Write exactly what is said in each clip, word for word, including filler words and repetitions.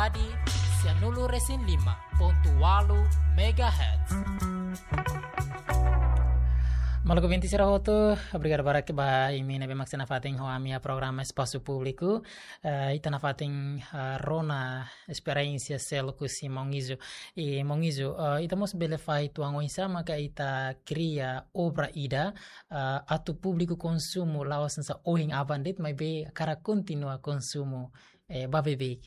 Sanulu resin lima pontu walu megahertz. Maluk ouvinte sira hotu, obrigadu barak ba imi ne'ebé mak sei nafatin ho ami iha programa Espasu Públiku. Eh, ita nafatin, eh, rona esperiénsia seluk husi Maun Izo. I Maun Izo, eh, ita mós bele fahe uitoan oinsá maka ita kria obra ida, eh, atu públiku konsumu la'ós hanesan ohin aban de'it, maibé hakarak kontinua konsumu, eh, ba beibeik.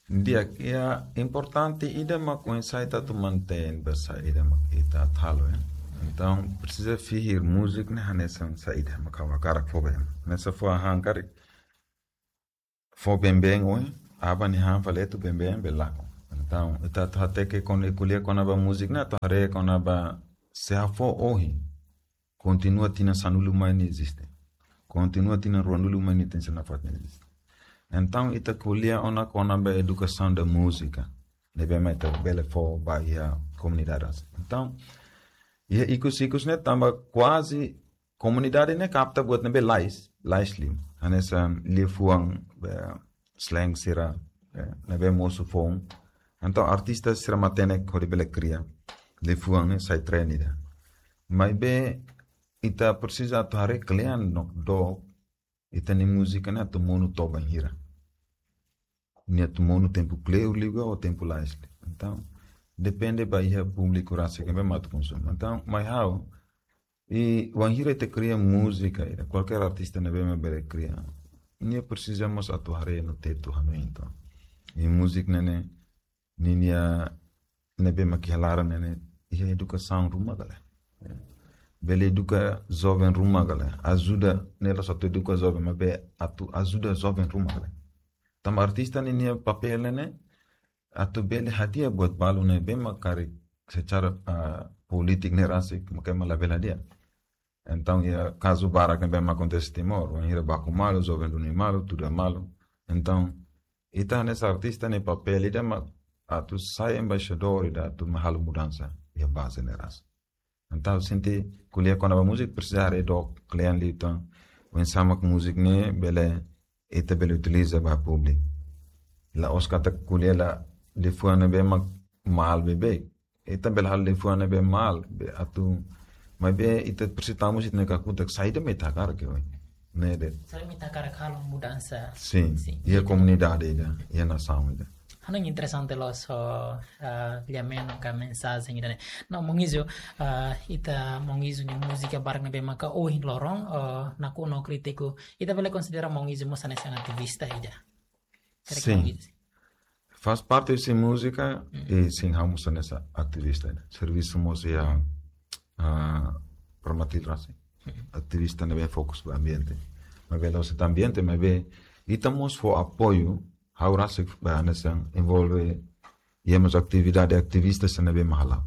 Di'ak, iha importante ida mak oinsá ita atu mantein ba saida mak ita atu halo, eh. Entaun, presiza fihir múzika ne'e hanesan saida mak ha'u hakarak fó ba ema. Hanesan fó hahán karik, fó been-been ohin, aban nia han fali atu been-been bele lakon. Entaun, ita atu hateke kona-, ko'alia kona-ba múzika ne'e, atu haree kona-ba se ha'u fó ohin, kontinua tinan sanulu mai nia eziste. Kontinua tinan ruanulu mai nia tenke nafatin eziste. Entaun, ita ko'alia ona kona-ba edukasaun da múzika ne'ebé mak ita bele fó ba iha komunidade. Entaun, iha ikus-ikus ne'e tanba kuaze komunidade ne'e kapta buat ne'ebé lais, lais liu. Hanesan liafuan, eh, slang sira, eh, ne'ebé mosu foun. Entaun artista sira matenek hodi bele kria liafuan ne'e sai trend ida. Maibé ita presiza atu haree kle'an no dook, ita-nia múzika ne'e atu monu to'o bainhira. Nia atu monu tempu kleur liu ka ou tempu lais liu. Entaun, depende ba iha públiku rasik ne'ebé mak atu konsumu. Entaun, mai ha'u, i wainhira ita kria múzika ida, kualkér artista ne'ebé mak bele kria, nia presiza mós atu haree no tetu hanoin entaun. I múzika ne'e ne'e, ninia ne'ebé mak iha laran ne'e ne'e, iha edukasaun ruma ka lae. Bele eduka joven ruma ka lae. Ajuda, ne'e la'ós atu eduka joven, maibé atu ajuda joven ruma ka lae. Tanba artista ninia papél ne'e ne'e, atu bele hadi'a buat balu ne'ebé mak karik secara, ah, polítika ne'e rasik, maka ema labele hadi'a. Entaun, iha kazu barak ne'ebé mak akontese Timor, wainhira baku malu, joven duni malu, tuda malu. Entaun, ita hanesan artista nia papél ida mak atu sai embaixadór ida atu mai halo mudansa iha baze ne'e rasik. Entaun, sente ko'alia kona-ba múzika presiza haree dook kle'an liután. Oinsá mak múzika ne'e bele, ita bele utiliza ba públiku. La'ós katak ko'alia la liafuan ne'ebé mak malu beibeik. Ita bele halo liafuan ne'ebé malu, be atu, maibé ita presiza tau mós ita-nia kakutak saida mak ita hakarak ke, oi. Ne'e de'it. Saida mak ita hakarak halo mudansa. Sin, Sin. Iha komunidade ida, iha nasaun ida. Hanoin interesante loos, ah, lia-menon ka mensajen ida-ne'e. No, Maun Izo, ah, ita Maun Izo nia múzika barak ne'ebé maka ohin loron, ah, nakonu krítiku. Ita bele konsidera Maun Izo mós hanesan ativista ida. Karik Sin. Maun Izo. Faz parte husi múzika, Mm. i sin, ha'u mós hanesan ativista ida. Servisu mós iha, ah, Promatil rasik. Mm. Ativista ne'ebé fokus ba ambiente. Maibé la'ós de'it ambiente, maibé ita mós fó apoiu, ha'u rasik ba hanesan envolve iha mós atividade ativista sira ne'ebé mak hala'o.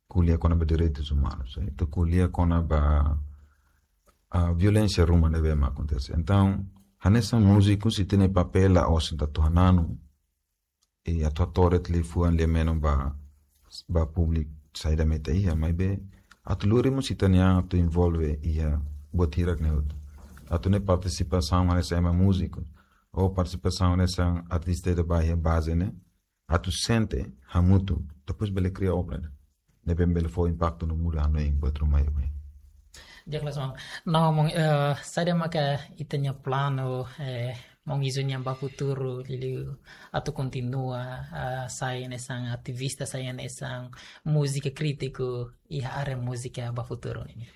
Ko'alia kona-ba direitus umanus, eh. Ita ko'alia kona-ba, ah, violénsia ruma ne'ebé mak akontese. Entaun, hanesan múziku sira-nia papél la'ós atu hananu, i atu hato'o de'it liafuan lia-menon ba, ba públiku saida mak ita iha, maibé atu lori mós ita-nia an atu envolve iha buat hirak ne'e hotu. Atu ne'e partisipasaun hanesan ema múziku, ou partisipasaun hanesan artista ida ba iha baze ne'e, atu sente hamutuk, depois bele kria obra ne'e. Ne'ebé bele fó impaktu no muda hanoin buat ruma iha. Di'ak loos, maun. No, maun, eh, saida maka ita-nia planu, eh, Maun Izo nian ba futuru, liuliu atu kontinua, ah, sai hanesan ativista, sai hanesan múzika krítiku iha área múzika ba futuru nian?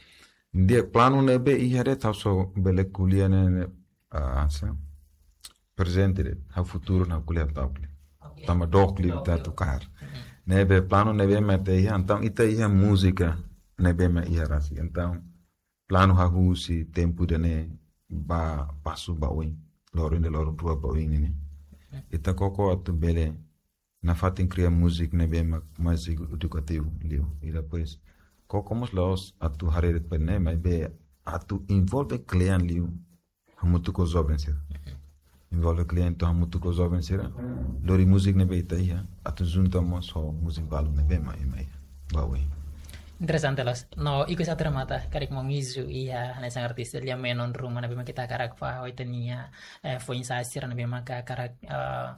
Di'ak, planu ne'ebé iha de'it ha'u só bele ko'alia ne'e, ne'e, ah, hanesan prezente de'it, ha'u futuru ha'u ko'alia ta'uk liu. Oke. Tanba dook liu Dook ita liu. atu kaer. Mm-mm. Ne'ebé planu ne'ebé mak ita iha, entaun ita iha múzika ne'ebé mak iha rasik. Entaun, planu hahú husi tempu ida-ne'e ba pasu ba oin, loron ida, loron rua ba oin ne'e ne'e. Mm. Ita koko atu bele nafatin kria múzika ne'ebé mak mais edu-, edukativu liu. I depois, koko mós la'ós atu haree de'it ba ne'e, maibé atu envolve kle'an liu hamutuk ho joven sira. Envolve kle'an entaun hamutuk ho joven sira. Lori múzika ne'ebé ita iha, atu junta mós ho múzika balu ne'ebé mak ema iha ba oin. Interesante loos. No, ikus atu remata, karik Maun Izo iha hanesan artista lia-menon ruma ne'ebé mak ita hakarak fahe ho ita-nia, eh, foin-sa'e sira ne'ebé mak hakarak, eh,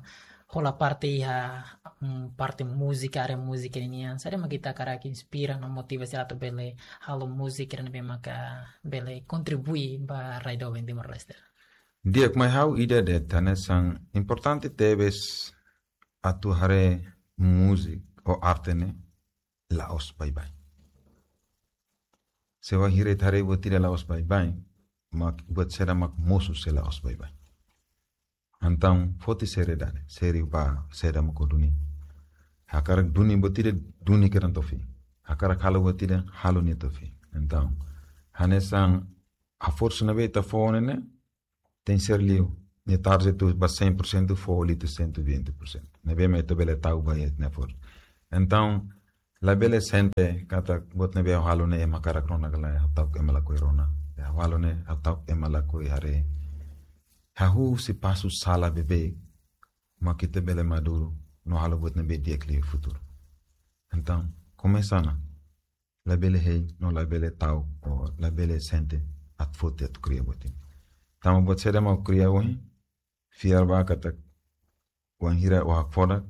hola parte iha, mm, parte múzika, área múzika ninian, saida mak ita hakarak inspira no motiva sira atu bele halo múzika ne'ebé maka bele kontribui ba rai doben Timor-Leste? Di'ak, mai ha'u ida de'it hanesan importante tebes atu haree múzika ou arte ne'e la'ós baibain. Se wainhira ita haree buat ida la'ós baibain, mak buat saida mak mosu se la'ós baibain. Entaun, foti seriedade, sériu ba saida mak ó duni. Hakarak duni buat ida, duni kedan to'o fim. Hakarak halo buat ida, halo nia to'o fim. Entaun, hanesan esforsu ne'ebé ita fó ne'e, tenke ser liu. Nia tarde tu ba cem por cento, fó liu tu cento e vinte por cento. Ne'ebé mak ita bele tau ba iha ita-nia esforsu. Entaun, labele sente katak buat ne'ebé ha'u halo ne'e ema hakarak rona ka lae, ha'u ta'uk ema lakohi rona. Ha'u halo ne'e, ha'u ta'uk ema lakohi haree. Hahú husi pasu sala beibeik mak ita bele maduru no halo buat ne'ebé di'ak liu iha futuru. Entaun, komesa ona. Labele hein, no labele ta'uk, ou labele sente atu foti atu kria buat ida. Tanba buat saida mak ó kria ohin, fiar ba katak wainhira ó hakfodak,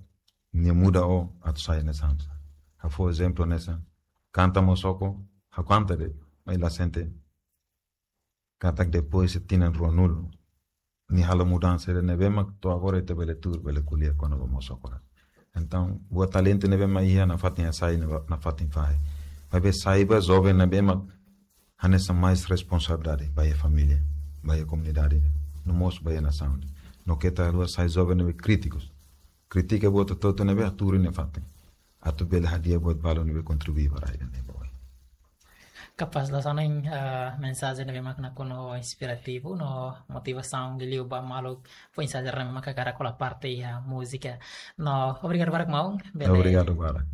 nia muda ó atu sai hanesan sá. Ha'u fó ezemplu hanesan, kanta Mosoko, ha'u kanta de'it, maibé la sente katak depois de tinan ruanulu, nia halo mudansa ida ne'ebé mak to'o agora ita bele tuur, bele ko'alia kona-ba Mosoko. Entaun, buat talentu ne'ebé mak iha nafatin hasai, nafatin fahe. Maibé sai ba joven ne'ebé mak hanesan mais responsabilidade ba iha família, ba iha komunidade, no mós ba iha nasaun. No keta haluha sai joven ne'ebé krítikus. Kritika buat hotu-hotu ne'ebé hatuur iha nia fatin. Atu bele hadi'a buat balu ne'ebé kontribui ba rai ida-ne'e ba oin. Kapás, loos ona, eh, mensajen ne'ebé mak nakonu inspirativu no motivasaun liuliu ba maluk foin-sa'e sira ne'ebé mak hakarak hola parte iha múzika. No, obrigadu barak maun. Bele. Obrigadu barak.